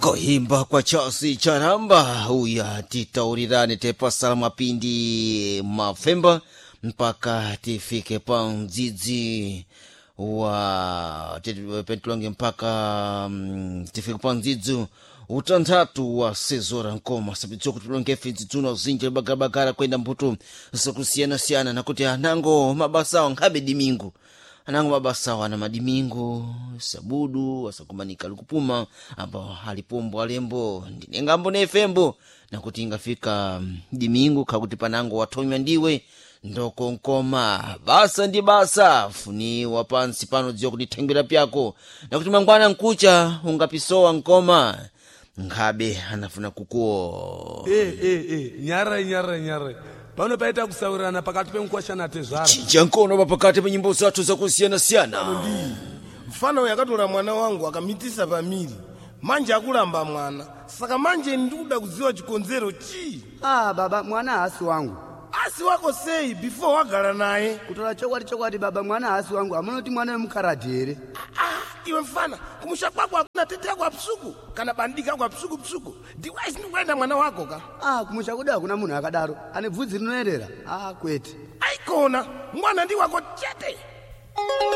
Kuimba kwa Charles Charamba uya titaurirane tepasala mapindi mafemba mpaka tifike pa mdzidzi wa petulonge mpaka tifike pa mdzidzi utanthatu wa sezora nkoma sapidziwa kuti tulonge ife dzidzuno zinji bagarabagara kwenda mbuto zakusiyanasiyana nakuti anango mabasawo nkhabe dimingu anango mabasawo ana madimingu sabudu asakumanika likupuma apo alipombo alembo ndinengambo nefembo nakuti ingafika dimingu khakuti panango wathonywa ndiwe ndokonkoma basa ndi basa funiwa pansi pano dziwa kuti thengwera pyako nakuti mangwana nkucha ungapisowa nkoma nkhabe anafuna kukuwo. Nyarai, nyarai, nyarai. Pano paita kusaurirana pakati pemukwasha natezvara. Chinja nkono pa pakati pa nyimbo zathu zakusiyanasiyana. Mfana uyu akatora mwana wangu akamitisa pamiri, manje akulamba mwana. Saka manje ndikuda kudziwa chikonzero chii? Ah, baba, mwana haasi wangu. Asi wako sei before wagara naye? Kutora chokwadi, chokwadi baba, mwana haasi wangu. Hamunoti mwana wemukaradhi here? Ah, iwe mfana, kumusha kwako hakuna tete yako apsuku kana bandika ako apsuku psuku? Ndiwaisi ndikuenda mwana wako ka. Ah, kumusha kudu hakuna munhu akadaro ane bvudzi rinoerera. Ah, kwete. Aikona mwana ndi wako chete.